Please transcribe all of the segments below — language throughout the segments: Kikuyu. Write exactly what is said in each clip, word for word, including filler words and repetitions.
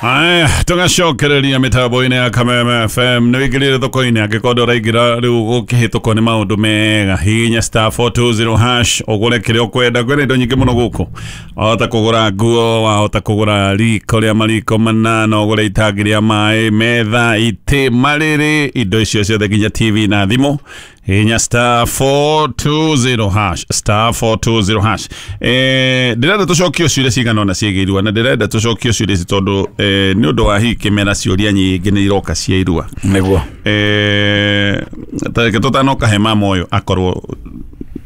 Aya, tũgacokereria mĩtambo-inĩ ya Kameme F M. Nĩ wĩingĩrire thoko-inĩ, angĩkorwo ndũraingĩra rĩu gũkĩhĩtũkwo nĩ maũndũ mega, hihinya star four two zero hash ũgũre kĩrĩa ũkwenda. Kwĩna indo nyingĩ mũno gũkũ, wahota kũgũra nguo, wahota kũgũra riko rĩa mariko manana, ũgũre itangi rĩa maĩ, metha, itĩ, marĩrĩ, indo icio ciothe nginya T V na thimũ. Hihinya star four two zero hash, star four two zero hash. Eh, ndĩrenda tũcokie ciũria cigana ũna ciĩgiĩ irua, na ndĩrenda tũcokie ciũria ici tondũ eh, nĩ ũndũ wa hihi kĩmera ciũria nyingĩ nĩ iroka cia irua. Nĩguo. Eh, ta reke tũtanoka he mama ũyũ akorwo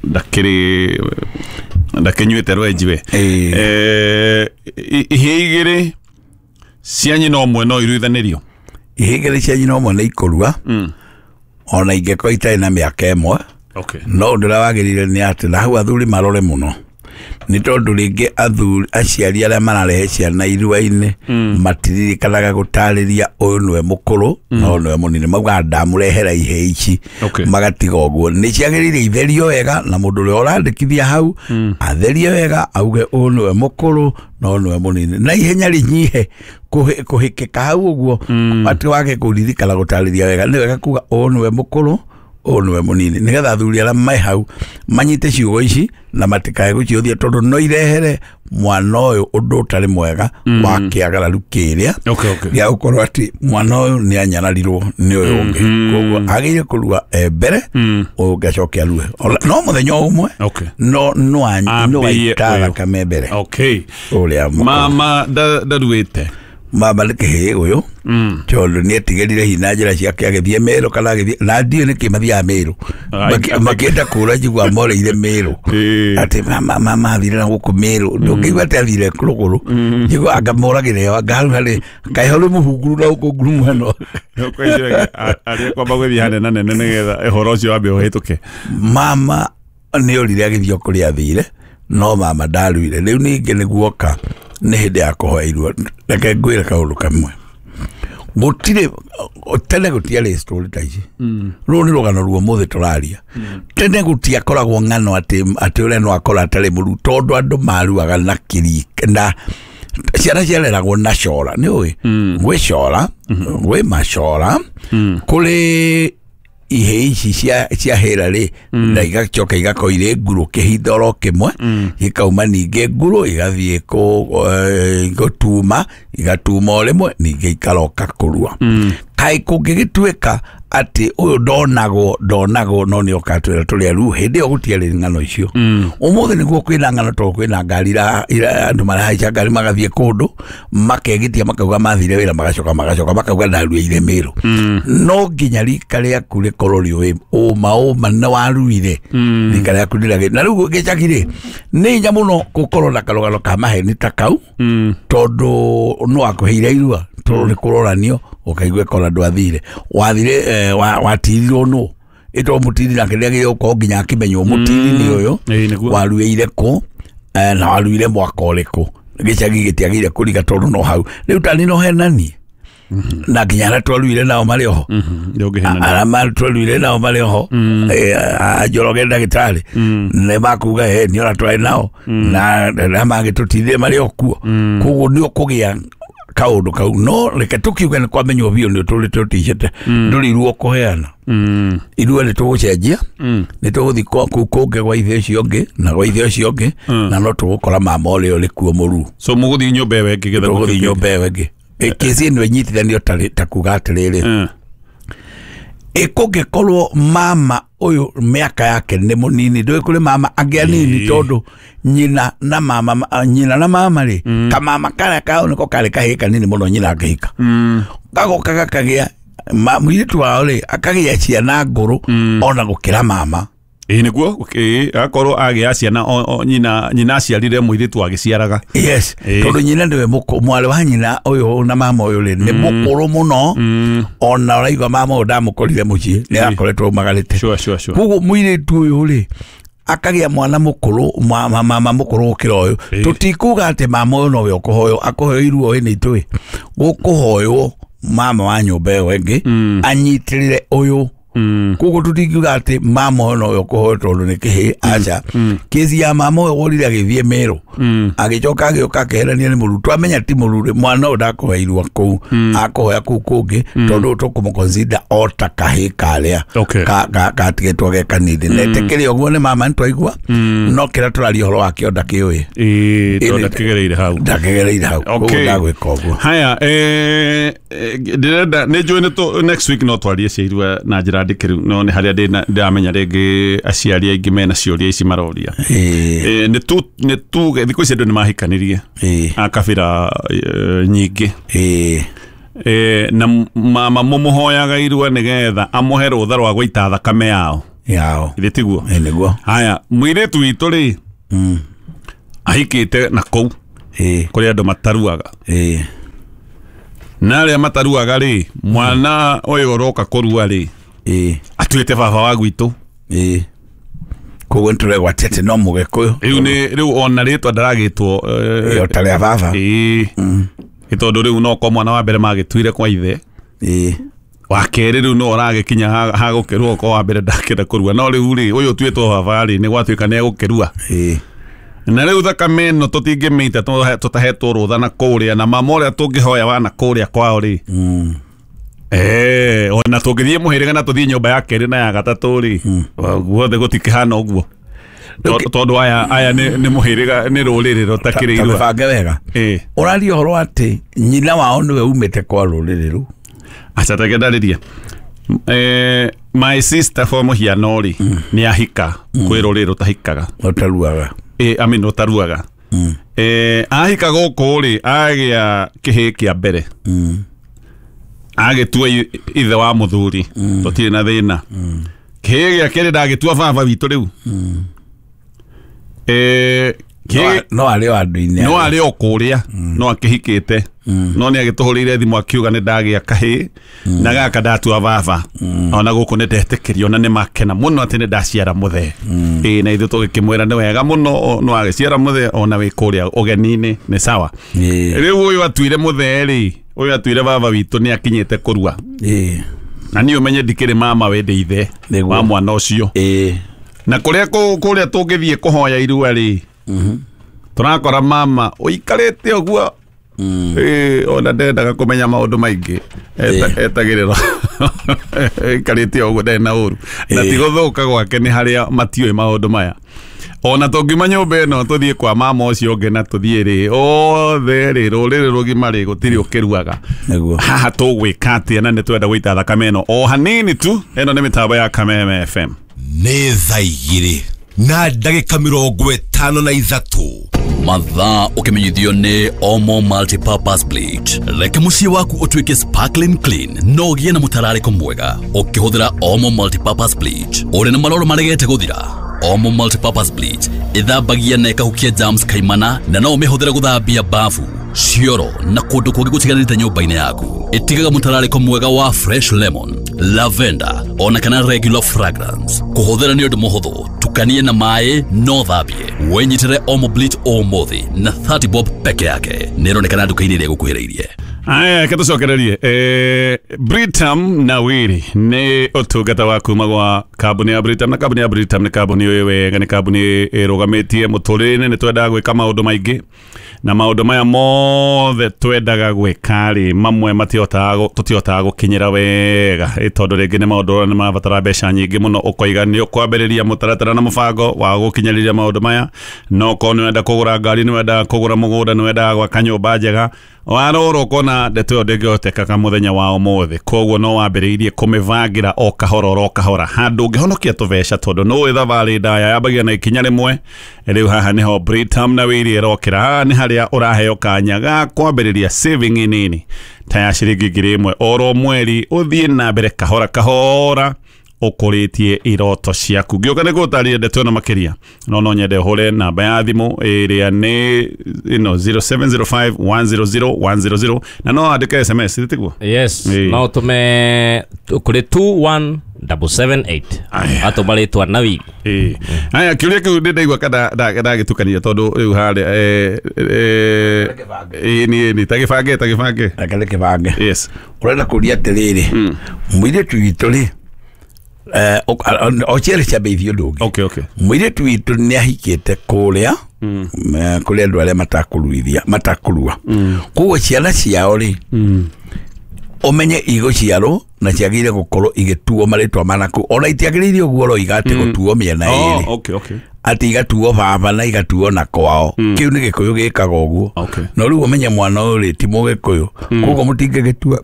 ndakĩrĩ ndakĩnyuĩte rwenji we. Eh, ihĩĩ igĩrĩ cia nyina ũmwe no iruithanĩrio? Ihĩĩ igĩrĩ cia nyina ũmwe nĩ ikũrua. Mm. Ona ingĩkorwo itarĩ na mĩaka ĩmwe. Okay. No ũndũ ũrĩa wagĩrĩire nĩ atĩ na hau athuri marore mũno, nĩ tondũ rĩngĩ athuri aciari arĩa mararehe ciana irua-inĩ matiririkanaga gũtarĩria ũyũ nĩwe mũkũrũ na ũyũ nĩwe mũnini, maugaga ndamũrehera ihĩĩ ici, magatiga ũguo. Nĩ ciagĩrĩire itherio wega, na mũndũ ũrĩa ũrandĩkithia hau atherie wega, auge ũyũ nĩwe mũkũrũ na ũyũ nĩwe mũnini, na ihenya rĩnyihe kũhĩkĩka hau ũguo, atĩ wage kũririkana gũtarĩria wega. Nĩ wega kuga ũyũ nĩwe mũkũrũ, ũyũ nĩwe mũnini, nĩgetha athuri arĩa me hau manyite ciugo ici na matikae gũciũthia, tondũ no irehere mwana ũyũ ũndũ ũtarĩ mwega wa kĩagararu kĩrĩa gĩa gũkorwo atĩ mwana ũyũ nĩ anyararirwo nĩ ũyũ ũngĩ. Koguo agĩrĩire kũrua e mbere, ũyũ ũngĩ acoke arue no mũthenya o ũmwe, no no waita thakame mbere. Ũrĩa mama ndaruĩte, mama nĩ kĩhĩĩ ũyũ, tondũ nĩ etigĩrire hihi na njĩra ciake agĩthiĩ Mĩrũ kana agĩthiĩ na ndiũĩ nĩkĩ mathiaga Mĩrũ, makĩenda kũra njigua moreire Mĩrũ, atĩ mama athire na gũkũ Mĩrũ, ndũngĩigua atĩ athire rũgũrũ, njigua anga moragĩre ho, anga hau harĩ kaĩ ho rĩ mũhunguru na gũkũ ngurumo ĩno arĩa kwamba gũthiĩ hanene nene nĩgetha ũhoro ũcio wambe ũhĩtũke. Mama nĩ orire agĩthiĩ o kũrĩa athire, no mama ndaruire. Rĩu ningĩ nĩguoka nĩ hĩndĩ ya kũhoya irua. Reke ngwĩre kaũndũ kamwe, gũtirĩ tene gũtiarĩ story ta ici, rũrũ nĩ rũgano rwa ũmũthĩ tũraria. Tene gũtiakoragwo ng'ano atĩ atĩ ũrĩa no akora atarĩ mũru, tondũ andũ maruaga na kĩrika na ciana ciareragwo na cora. Nĩ ũĩ gwĩ cora, gwĩ macora, kũrĩ ihĩĩ ici cia cia hĩra rĩ, na igacoka igakorwo irĩ ngurũ kĩhinda oro kĩmwe, ikauma ningĩ ngurũ igathiĩ gũtuma, igatuma o rĩmwe ningĩ ikaroka kũrua. Kaĩ kũngĩgĩtuĩka atĩ ũyũ ndonagwo ndonagwo no nĩ oka atwĩra tũrĩ aru, hĩndĩ ĩyo gũtiarĩ ng'ano icio. Ũmũthĩ nĩguo kwĩna ng'ano, tondũ kwĩna ngari andũ marahaica ngari magathiĩ kũndũ makegitia makauga mathire wĩra, magacoka magacoka makauga ndaruĩire Mĩrũ. No nginya rika rĩaku rĩkorwo rĩũĩ ũma ũma nĩ waruire, rika rĩaku rĩragĩ. Na rĩu gĩcagi rĩ, nĩ hinya mũno gũkorwo na karũgano ka maheni ta kau, tondũ no akũheire irua, tondũ nĩ kũroranio ũkaigua kora ndwathire, wathire watirirwo nũ ĩtwo mũtiri nake nĩagĩrĩire gũkorwo nginya akĩmenywo mũtiri nĩ ũyũ waruĩire kũ na waruire mwaka ũrĩkũ. Gĩcagi gĩtiagĩrĩire kũriga tondũ no hau rĩu tani no henanie na nginya arĩa twaruire nao marĩ oho, arĩa twaruire nao marĩ oho, Njoroge ndagĩtarĩ nĩ makuga ĩ nĩ ona twarĩ nao na arĩa mangĩtũtindire marĩ o kuo. Koguo nĩ ũkũgĩa kaũndũ kau. No reke tũkiuge nĩ kwamenywo biũ nĩ ũtũrĩte ũticĩte, ndũrĩ irua ũkũheana, irua nĩ tũgũcenjia, nĩ tũgũthiĩ kũu kũngĩ gwa ithe ũcio ũngĩ na gwa ithe ũcio ũngĩ, na no tũgũkora mama ũrĩa ũrĩ kuo mũru. So mũgũthiĩ nyũmba ĩyo ĩngĩ getha tũgũthiĩ nyũmba ĩyo ĩngĩ. Kesi ĩno ĩnyitithanio ta kuga atĩrĩrĩ, ĩkũngĩkorwo mama ũyũ mĩaka yake nĩ mũnini, ndũĩ kũrĩ mama angĩ anini, tondũ nyina na mama nyina na mama rĩ, kamama karĩa kao nĩko karĩ kahĩĩ kanini mũno nyina akĩhika, gagoka gakagĩa mũirĩtu wao rĩ akagĩa ciana ngũrũ ona gũkĩra mama. Ĩĩ nĩguo, akorwo agĩa ciana nyina nyina aciarire mũirĩtu agĩciaraga. Yes, tondũ nyina nĩwe mwarĩ wa nyina ũyũ na mama ũyũ rĩ nĩ mũkũrũ mũno, ona ũraigua mama ũyũ ndamũkorire mũciĩ, nĩ akoretwo aumagarĩte. Koguo mũirĩtu ũyũ rĩ akagĩa mwana mũkũrũ, mama mũkũrũ gũkĩra ũyũ. Tũtikuga atĩ mama ũyũ nowe ũkũhoywo, akũheo iruo ĩ nĩ itũĩ, gũkũhoywo mama wa nyũmba ĩyo ĩngĩ anyitĩrĩre ũyũ Koguo tũtingiuga atĩ mama ũyũ nowe ũkũhoya tondũ nĩ kĩhĩ, aca. Kĩci ya mama ũyũ worire agĩthiĩ Meru, agĩcoka agĩũka akĩherania nĩ mũru, twamenya ti mũru rĩ, mwana ũyũ ndakũhoya irua kũu, akũhoya kũu kũngĩ, tondũ tũkũmũ-consider o ta kahĩ karĩa Okay. ka- ka- katigĩtwo ge kanini. Na etĩkĩre ũguo nĩ mama nĩtwaigua, no kĩrĩa tũraria ũhoro wakĩo ndakĩũĩ. Ĩĩ, tondũ ndakĩgereire hau. Ndakĩgereire hau, koguo Okay. ndagwĩka ũguo. Haya, eh, eh, ndĩrenda nĩ njũĩ nĩ tũ- next week no twarie cia irua na njĩra ndikĩru, no nĩ harĩa ndĩna- ndĩramenya rĩngĩ aciari aingĩ mena ciũria ici maroria. Ĩĩ, Eh, nĩ tu nĩ tuge thikũ ici andũ nĩ mahikanirie ĩĩ, a kabira eh, nyingĩ. ĩĩ, Eh, na mama mũmũhoyaga irua nĩgetha amũhe rũtha rwa gũita thakame yao. Yao. Ithĩ tiguo? Ĩĩ, nĩguo. Haya, mũirĩtu witũ rĩ, ahikĩte na kũu Ĩĩ, kũrĩ andũ mataruaga. Ĩĩ, na arĩa mataruaga rĩ, mwana ũyũ ũroka kũrua rĩ, ĩĩ, atuĩte baba wa gwitũ. Ĩĩ, koguo nĩtũregwatia atĩ no mũgĩkũyũ. Rĩu nĩ rĩu ona rĩtwa ndaragĩtwo eh, Ĩĩ, o ta rĩa baba. Ĩĩ, ĩ tondũ rĩu no ko mwana wa mbere magĩtuire kwa ithe, Ĩĩ, wa kerĩ rĩu no ũragĩkinya ha- hagũkĩrua ko wa mbere ndakĩenda kũrua, no rĩu rĩ, ũyũ ũtuĩtwo baba rĩ, nĩ gwatuĩka nĩ egũkĩrua. Ĩĩ, na rĩu thakame ĩno tũtingĩmĩita tũhe- tũtahetwo rũtha na kũrĩa, na mama ũrĩa tũngĩhoya wana kũrĩa kwao rĩ, Eh, ona tũngĩthiĩ mũhĩrĩga na tũthiĩ nyũmba ya kerĩ na ya gatatũ rĩ, guothe gũtikĩhana ũguo. To- tondũ aya aya nĩ nĩ mũhĩrĩga, nĩ rũrĩrĩ rũtakĩrĩ irua. Tũbange wega. Ĩĩ. Ũraria ũhoro atĩ nyina wao nĩwe umĩte kwa rũrĩrĩ rũu. Aca reke ndarĩrie. Eh, my sister for mũhiano rĩ, nĩ ahika kwĩ rũrĩrĩ rũtahikaga. Ũtaruaga. Ĩ, I mean rũtaruaga. Eh, ahika gũkũ rĩ, agĩa kĩhĩ kĩa mbere, agĩtua i- ithe wa mũthuri, tũtirĩ na thĩna. Kĩhĩ gĩa kerĩ ndagĩtua baba witũ rĩu. Eh, kĩhĩ no arĩ o andũ-inĩ. No arĩ o kũrĩa no akĩhikĩte, no nĩ agĩtũhũrĩire thimũ akiuga nĩ ndagĩa kahĩ na gaka ndatua baba, ona gũkũ nĩ ndetĩkĩrio na nĩ makena mũno atĩ nĩ ndaciara mũthee. Ĩĩ, na ithuĩ tũgĩkĩmwĩra nĩ wega mũno, o- no agĩciara mũthee ona wĩ kũrĩa ũgeni-inĩ nĩ sawa. Ĩĩ. Rĩu ũyũ atuire mũthee rĩ, ũyũ atuire baba witũ nĩ akinyĩte kũrua, Ĩĩ. na niĩ ũmenye ndikĩrĩ mama we, ndĩ ithe Nĩguo. wa mwana ũcio. Ĩĩ. Na kũrĩa kũ- kũrĩa tũngĩthiĩ kũhoya irua rĩ, tũrakora mama ũikarĩte ũguo. Ĩĩ, ona ndendaga kũmenya maũndũ maingĩ. Eta- etagĩrĩra ĩikarĩte ũguo, ndarĩ na ũru na Ĩĩ. ti gũthũka gwake, nĩ harĩa matiũĩ maũndũ maya. Ona tũngiuma nyũmba ĩno tũthiĩ kwa mama ũcio ũngĩ na tũthiĩ rĩ, othe rĩ, rũrĩrĩ rũgima rĩ, gũtirĩ ũkĩruaga. Nĩguo. Haha tũgwĩka atĩa? Na nĩ twenda gũita thakame ĩno o hanini tu. Ĩno nĩ mĩtambo ya Kameme F M. Nĩ thaa igĩrĩ na ndagĩka mĩrongo ĩtano na ithatũ. Mathaa ũkĩmenyithio nĩ Omo Multipurpose Bleach. Reke mũciĩ waku ũtuĩke sparkling clean no ũgĩe na mũtararĩko mwega ũkĩhũthĩra Omo Multipurpose Bleach. Ũrĩ na maroro maregete gũthira, Omo Multipurpose Bleach ĩthambagia na ĩkahukia germs kaimana, na no ũmĩhũthĩre gũthambia bafu, cioro na kũndũ kũngĩ gũtiganĩte nyũmba-inĩ yaku. Ĩtigaga mũtararĩko mwega wa fresh lemon, lavender ona kana regular fragrance. Kũhũthĩra nĩ ũndũ mũhũthũ, tukanie na maĩ no thambie. Wĩnyitĩre Omo Bleach ũmũthĩ na thirty bob peke yake. Nĩ ĩronekana nduka-inĩ ĩrĩa ĩgũkuhĩrĩirie. Aya, reke tũcokererie. Eh, Britam na Wiri nĩ ũtungata wa kuma gwa kambuni ya Britam, na kambuni ya Britam nĩ kambuni ĩĩ wega, nĩ kambuni ĩrũgamĩtie mũtũrĩre-inĩ. Nĩ twendaga gwĩka maũndũ maingĩ, na maũndũ maya mothe twendaga gwĩka rĩ, mamwe matihotaga gũ- tũtihotaga gũkinyĩra wega, ĩ tondũ rĩngĩ nĩ maũndũ ũrona nĩ marabatara mbeca nyingĩ mũno, ũkoiga nĩ ũkwambĩrĩria mũtaratara na mũbango wa gũkinyĩrĩria maũndũ maya. No korwo nĩ wenda kũgũra ngari, nĩ wendaga kũgũra mũgũnda, nĩ wendaga gwaka nyũmba njega, warora ũkona ndeto ĩyo ndĩngĩhotekeka mũthenya wa ũmũthĩ. Koguo no wambĩrĩirie kũmĩbangĩra o kahora oro kahora handũ ũngĩhonokia tũbeca, tondũ nĩũĩ thabarĩ ndaya yambagia na ikinya rĩmwe. Rĩu haha nĩho Britam na Wiri ĩrokĩra. Haha nĩ harĩa ũraheo kanya ga kwambĩrĩria saving nini ta ya ciringi ngiri ĩmwe oro mweri, ũthiĩ na mbere kahora kahora ũkũrĩtie iroto ciaku. Ngĩũka nĩ gũtarĩria ndeto ĩno makĩria, no no nyende ũhũre namba ya thimũ ĩrĩa nĩ ĩno zero seven zero five one zero zero one zero zero, na no wandĩke S M S, tiguo? Yes, Ĩĩ. no ũtũme kũrĩ two one double seven eight. Aya. Atũma rĩtwa na Wiri. Ĩĩ. Aya, kĩũria kĩu nĩ ndaigua ka ndagĩtukania, tondũ rĩu harĩa, eh, eh, ĩĩ, nĩ, nĩ, ta gĩbange, ta gĩbange. Reke nĩ kĩbange. Yes. Ũrenda kũria atĩrĩrĩ, mũirĩtu witũ rĩ, Eh, o cierĩ ciambĩrĩirie ũndũ ũngĩ. Okay, okay. Mũirĩtu witũ nĩ ahikĩte kũrĩa kũrĩ andũ arĩa matakũruithia matakũrua. Koguo ciana ciao rĩ ũmenye igũciarwo na ciagĩrĩire gũkorwo igĩtuo marĩtwa manaku ona itiagĩrĩire ũguo roiga atĩ gũtuo mĩena ĩrĩ. Oh, okay, okay. Atĩ igatuo baba na igatuo na kwao. Kĩu nĩ Gĩkũyũ gĩkaga ũguo. Okay. No rĩu ũmenye mwana ũyũ rĩ ti Mũgĩkũyũ. Koguo mũtingĩgĩtua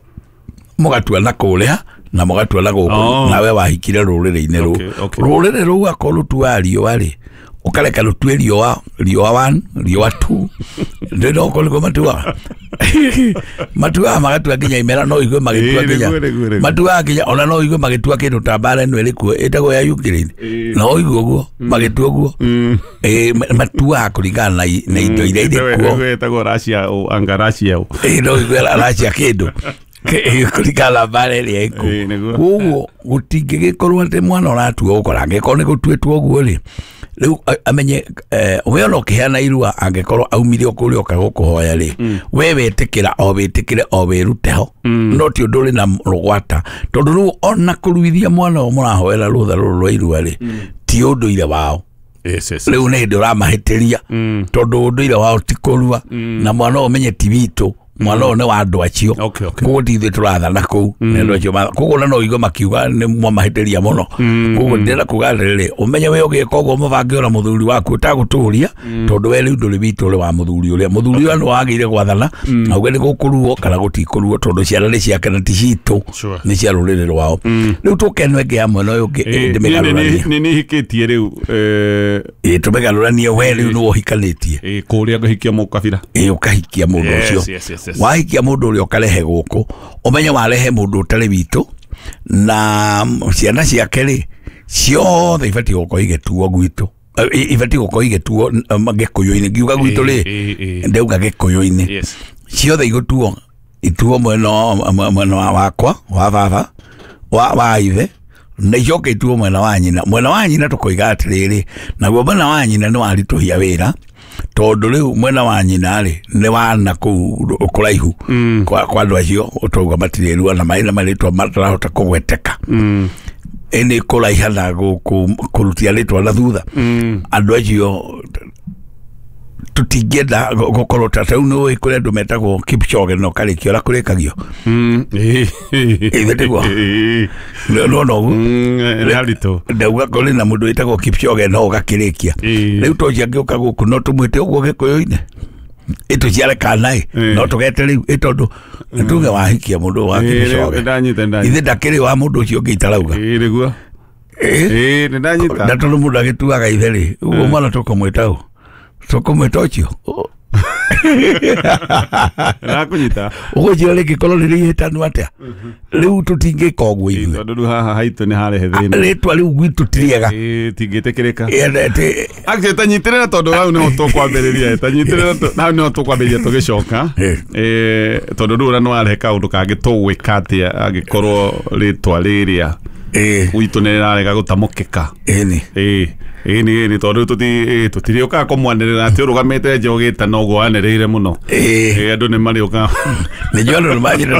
mũgatua na kũrĩa na mũgatua na gũkũ. Oh. Nawe wahikire rũrĩrĩ-inĩ rũu. Okay, okay. Rũrĩrĩ rũu akorwo rũtuaga riũa rĩ ũkareka rũtue riũa riũa one riũa two ndĩ no kũrĩ nĩguo matuaga matuaga magatua nginya imera no igue magĩtua Ĩĩ, nginya nĩguo, nĩguo, nĩguo. matuaga nginya ona no igue magĩtua kĩndũ ta mbara ĩno ĩrĩ kuo ĩtagwo ya Ukraine no igue ũguo magĩtua ũguo. Ĩĩ, ma- matuaga kũringana na i- na indo iria irĩ kuo. Ĩtagwo Russia o anga Russia o. Ĩĩ, no igue aracia kĩndũ kũringana na mbara ĩrĩa ĩkuo. Ĩĩ, nĩguo. Koguo gũtingĩgĩkorwo atĩ mwana ũratua ũkora angĩkorwo nĩ gũtuĩtwo ũguo rĩ rĩu a- amenye eh, we ona ũkĩheana irua angĩkorwo aumire o kũrĩa oka gũkũhoya rĩ we wetĩkĩra o wĩtĩkĩre o wĩrute ho no ti ũndũ ũrĩ na rũgwata tondũ rĩu ona kũruithia mwana ũyũ mũrahoera rũtha rũrũ rwa irua rĩ ti ũndũire wao. Yes, yes. Rĩu nĩ hĩndĩ ũramahĩtĩria tondũ ũndũire wao ti kũrua na mwana ũyũ ũmenye ti witũ mwana ũyũ nĩ wa andũ acio. Okay, okay. Koguo ti ithuĩ tũrathana kũu nĩ andũ acio matha- koguo ona no ũigue makiuga nĩ mwamahĩtĩria mũno. Koguo ndĩrenda kuga atĩrĩrĩ ũmenye we ũgĩka ũguo mũbange ona mũthuri waku ũtagũtũria tondũ we rĩu ndũrĩ witũ ũrĩ wa mũthuri ũrĩa mũthuri ũrĩa nĩ wagĩrĩire gwathana auge nĩ gũkũruo kana gũtikũruo tondũ ciana nĩ ciake na ti citũ Sure. nĩ cia rũrĩrĩ rwao. Rĩu tũke ĩno ĩngĩ ya mwena ũyũ ũngĩ Ĩĩ, ndĩmĩgarũranie. nĩ nĩ hikĩtie rĩu eh, Ĩĩ, tũmĩgarũranie we rĩu nĩwe ũhikanĩtie. ĩĩ, kũrĩa ngahikia mũkabira. Ĩĩ, ũkahikia mũndũ Yes, ũcio. yes, yes, yes. Wahikia mũndũ ũrĩa ũkarehe gũkũ ũmenye warehe mũndũ ũtarĩ witũ na ciana ciake rĩ ciothe ibatiĩ gũkorwo igĩtuo gwitũ. Eh, ibatiĩ gũkorwo igĩtuo um, Gĩkũyũ-inĩ ngiuga gwitũ rĩ Ĩĩ, ĩĩ, ĩĩ. ndauga Gĩkũyũ-inĩ. Yes. Ciothe igũtuo ituo mwena wa- mwena wa wakwa wa baba wa wa ithe na icoke ituo mwena wa nyina. Mwena wa nyina tũkoiga atĩrĩrĩ naguo mwena wa nyina nĩ waritũhia wĩra tondũ rĩu mwena wa nyina rĩ nĩ wana kũu kũraihu kwa kwa andũ acio ũtauga matirĩ rua na marĩ na marĩtwa matarahota kũgweteka ĩnĩ kũraiha na gũ- kũrutia rĩtwa na thutha andũ acio tũtingĩenda gũ- gũkorwo ta rĩu nĩ ũĩ kũrĩ andũ metagwo Kipchoge na ũkarĩkia ũrĩa kũrĩkagio. Mm, ĩĩ. Ĩĩ, nĩguo. Ĩĩ. Nĩwona ũguo Mm, nĩ haritũ. ndauga kũrĩ na mũndũ wĩtagwo Kipchoge no ũgakĩrĩkia. Ĩĩ. Rĩu tocio angĩũka gũkũ no tũmwĩte ũguo Gĩkũyũ-inĩ ĩtũciare kana ĩ Ĩĩ. no tũgete rĩu ĩ tondũ nĩtuge wahikia mũndũ wa Ĩĩ, Kipchoge nĩndanyita, nĩndanyita. ithe ndakĩrĩ wa mũndũ ũcio ũngĩ itarauga. Ĩĩ, nĩguo. Ĩĩ. Ĩĩ, nĩndanyita. Na tondũ mũndũ agĩtuaga ithe rĩ ũguo mwana tũkũmwĩta ũ tũkũmwĩta ũcio Ndakũnyita. ũgũcio rĩngĩkorwo rĩrĩ ihĩtanu atĩa rĩu tũtingĩka ũguo Ĩĩ, ithuĩ tondũ rĩu haha haitũ nĩ harehe thĩna. rĩtwa rĩu gwitũ ti rĩega. Ĩĩ, tingĩtĩkĩrĩka. Ĩĩ, Actually, tanyitĩrĩra tondũ hau nĩho tũkwambĩrĩria tanyitĩrĩra tũ- hau nĩho tũkwambĩrĩria tũgĩcoka. Ĩĩ. Ĩĩ, tondũ rĩu ũrĩa nĩwarehe kaũndũ kangĩ tũgwĩka atĩa angĩkorwo rĩtwa rĩrĩa ĩĩ gwitũ nĩ rĩrarega gũtamũkĩka. ĩni Ĩĩ, ĩĩ nĩ ĩĩ tondũ tũti ĩĩ, tũtirĩũkaga kũmwanĩrĩra atĩ ũrũgamĩte nja ũgĩtana ũguo wanĩrĩire mũno. Ĩĩ. Ĩĩ, andũ nĩ marĩũkaga. Nĩnjũĩ andũ nĩmanjĩra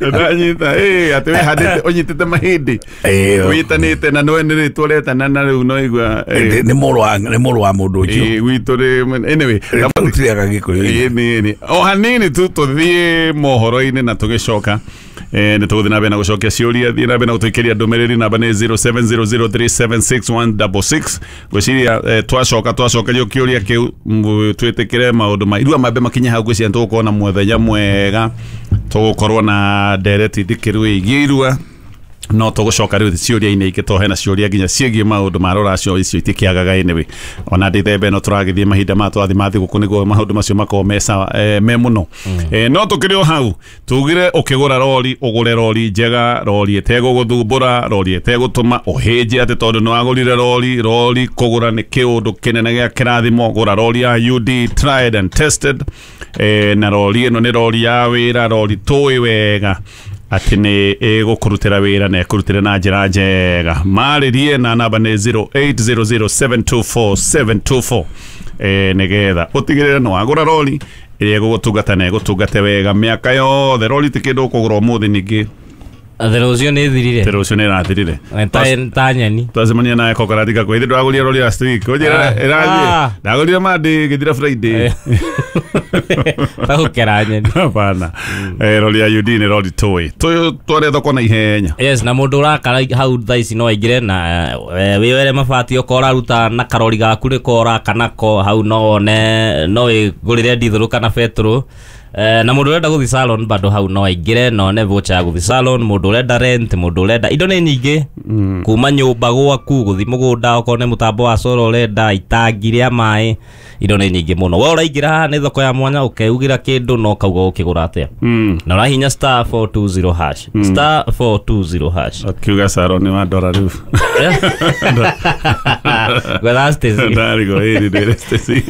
Ndanyita ĩĩ atĩ wĩhandĩte ũnyitĩte mahĩndĩ Ĩĩ. wĩtanĩte na nĩwe nĩ rĩtwa ũretana na rĩu no igua ĩĩ, nĩ mũrũ wa nĩ mũrũ wa mũndũ ũcio ĩĩ, gwitũ rĩ anyway rĩu tũrĩaga Gĩkũyũ-inĩ. ĩĩ nĩ nĩ o hanini tu tũthiĩ mohoro-inĩ na tũgĩcoka eh, nĩ tũgũthiĩ na mbere na gũcokia ciũria thiĩ na mbere na gũtũikĩria ndũmĩrĩri namba nĩ zero seven zero zero three seven six one double six ngwĩciria eh, twacoka twacokerio kĩũria kĩu m- twĩtĩkĩre maũndũ ma irua mambe makinye hau ngwĩciria nĩtũgũkorwo na mũthenya mwega tũgũkorwo na ndereti ndikĩru ĩgiĩ irua no tũgũcoka rĩu ciũria-inĩ ingĩ tondũ hena ciũria nginya ciĩgiĩ maũndũ ma rũracio icio itikĩagaga anyway ona ndĩthembe no tũragĩthiĩ mahinda maya tũrathiĩ ma thigũkũ nĩguo maũndũ macio makorwo me sawa eh, me mũno. Eh, no tũkĩrĩ o hau tugire ũkĩgũra rori ũgũre rori njega rori ĩtegũgũthumbũra rori ĩtegũtũma ũhĩnje atĩ tondũ nĩ wagũrire rori rori kũgũra nĩ kĩũndũ kĩnene gĩa kĩrathimo gũra rori ya U D tried and tested eh, na rori ĩno nĩ rori ya wĩra rori tũĩ wega atĩ nĩ ĩgũkũrutĩra wĩra na ĩkũrutĩre na njĩra njega marĩrie na namba nĩ zero eight zero zero seven two four seven two four eh nigetha utigirire no wagura rori ĩrĩa ĩgũgũtungata na ĩgũtungate wega mĩaka yothe. Rori ti kĩndũ ũkũgũra ũmũthĩ ningĩ Thero ũcio nĩ thirire. Thero ũcio nĩ ĩrathirire. Ta nyeni. Twacemania nawe kokaratika kwĩ hĩndĩ ndwagũrire rori last week. Ũnjĩra ĩrathiĩ. Ndagũrire Monday ĩgĩthira Friday. Tagũkera nyeni. Hapana. Eh rori ya U D nĩ rori tũĩ. Tũyũ tware thoko na ihenya. Yes, na mũndũ ũrakara hau thaa ici no aingĩre na wĩwere mabati okorwo ũraruta na karori gaku nĩko ũraka nako hau no wone no wĩgũrĩre ndithũrũ kana betũrũ. Na mũndũ ũrenda gũthiĩ salon bado hau no aingĩre no one voucher ya gũthiĩ salon, mũndũ ũrenda rent, mũndũ ũrenda indo nĩ nyingĩ kuma nyũmba gwaku gũthiĩ mũgũnda okorwo nĩ mũtambo wa solar ũrenda itangi rĩa maĩ, indo nĩ nyingĩ mũno. We ũraingĩra haha nĩ thoko ya mwanya ũkeugĩra kĩndũ no ũkauga ũkĩgũra atĩa na ũrahinya star four two zero hash star four two zero hash. Akiuga salon nĩ wa ndora rĩu. Gwetha Stacy. Ndarigwo ĩrĩ ndĩre Stacy.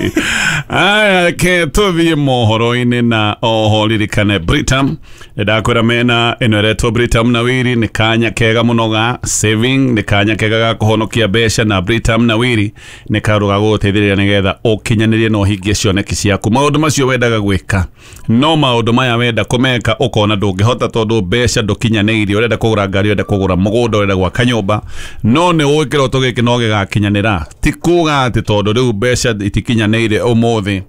Aya, reke tũthiĩ mohoro-inĩ na oho ririkane Britam. Ndakwĩra mena ĩno ĩretwo Britam na Wiri nĩ kanya kega mũno ga saving, nĩ kanya kega ga kũhonokia mbeca, na Britam na Wiri nĩ kaũndũ ga gũgũteithĩrĩria nĩgetha ũkinyanĩrie na ũhingie cioneki ciaku. Maũndũ macio wendaga gwĩka no maũndũ maya wenda kũmeka ũkona ndũngĩhota tondũ mbeca ndũkinyanĩirie. Ũrenda kũgũra ngari, ũrenda kũgũra mũgũnda, ũrenda gwaka nyũmba, no nĩ ũĩ kĩroto gĩkĩ no gĩgakinyanĩra. Ti kuga atĩ tondũ rĩu mbeca itikinyanĩire ũmũthĩ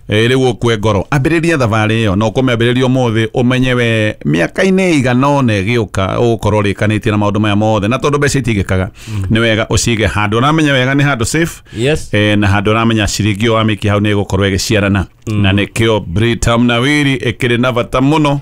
rĩu ũkue ngoro. Ambĩrĩria thabarĩ ĩyo na ũkũmĩambĩrĩria ũmũthĩ ũmenye we mĩaka-inĩ ĩigana ũna ĩgĩũka ũgũkorwo ũrĩkanĩtie na maũndũ maya mothe, na tondũ mbeca itingĩkaga nĩ wega ũcige handũ ũramenya wega nĩ handũ safe. Yes. Eh, na handũ ũramenya ciringi ĩyo wamĩikia hau nĩ ĩgũkorwo ĩgĩciarana, na nĩkĩo Britam na Wiri ĩkĩrĩ na bata mũno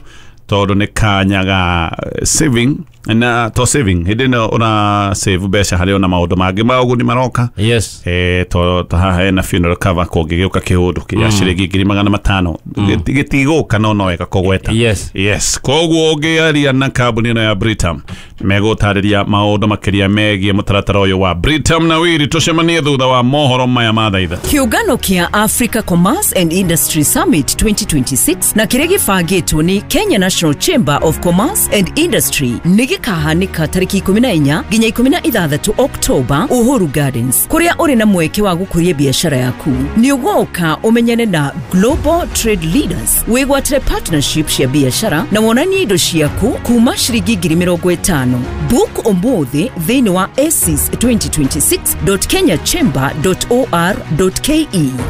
tondũ nĩ kanya ga saving na to saving hĩndĩ ĩno ũra save mbeca harĩ ona maũndũ mangĩ ma ũguni maroka. Yes. Eh to to haha hena funeral cover kũngĩgĩũka kĩũndũ kĩa ciringi ngiri magana matano gĩtigũka no no wega kũgweta. Yes. Yes. Koguo ũngĩaria na kambuni ĩno ya Britam megũtarĩria maũndũ makĩria megiĩ mũtaratara ũyũ wa Britam na Wiri. Tũcemanie thutha wa mohoro maya ma thaa ithatũ. Kĩũngano kĩa Africa Commerce and Industry Summit twenty twenty-six na kĩrĩa gĩbangĩtwo nĩ Kenya National Chamber of Commerce and Industry nĩ gĩkahanĩka tarĩki ikũmi na inya nginya ikũmi na ithathatũ Oktoba Uhuru Gardens, kũrĩa ũrĩ na mweke wa gũkũria biacara yaku. Nĩ ũgoka ũmenyane na Global Trade Leaders, wĩgwatĩre partnership cia biacara na wonanie indo ciaku kuma ciringi ngiri mĩrongo ĩtano. Book ũmũthĩ thĩinĩ wa asis twenty twenty-six dot kenya chamber dot or dot ke.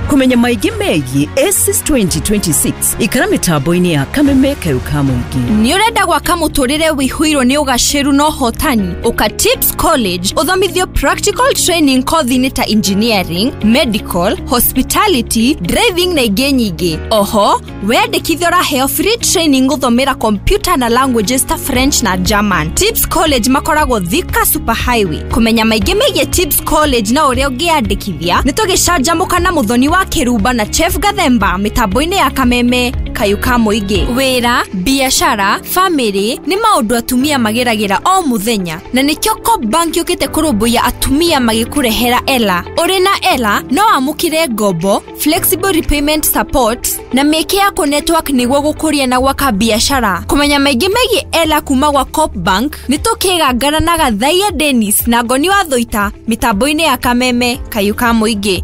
Kũmenya maingĩ megiĩ asis twenty twenty-six ikara mĩtambo-inĩ ya Kameme Kayũ ka Mũingĩ. Nĩ ũrenda gwaka mũtũrĩre wĩihũirwo nĩ ũgacĩru na ũhotani? Ũka Tips College ũthomithio practical training kothi-inĩ ta engineering, medical, hospitality, driving na ingĩ nyingĩ. Oho weyandĩkithia ũraheo free training gũthomera computer na languages ta French na German. Tips College makoragwo Thika Super Highway. Kũmenya maingĩ megiĩ Tips College na ũrĩa ũngĩyandĩkithia nĩ tũgĩcanjamũka na Mũthoni wa Kĩrumba na Chef Gathemba mĩtambo-inĩ ya Kameme Kayũ ka Mũingĩ. Wĩra, biacara, family nĩ maũndũ atumia mageragĩra o mũthenya, na nĩkĩo Co-op Bank yũkĩte kũrũmbũiya atumia magĩkũrehera Ela. Ũrĩ na Ela no wamũkĩre ngombo, flexible repayment support na mĩeke ya kũ network nĩguo gũkũria na gwaka biacara. Kũmenya maingĩ megiĩ Ela kuma gwa Co-op Bank nĩ tũkĩgangana na Gathaia Dennis na Ngoni wa Thũita mĩtambo-inĩ ya Kameme Kayũ ka Mũingĩ.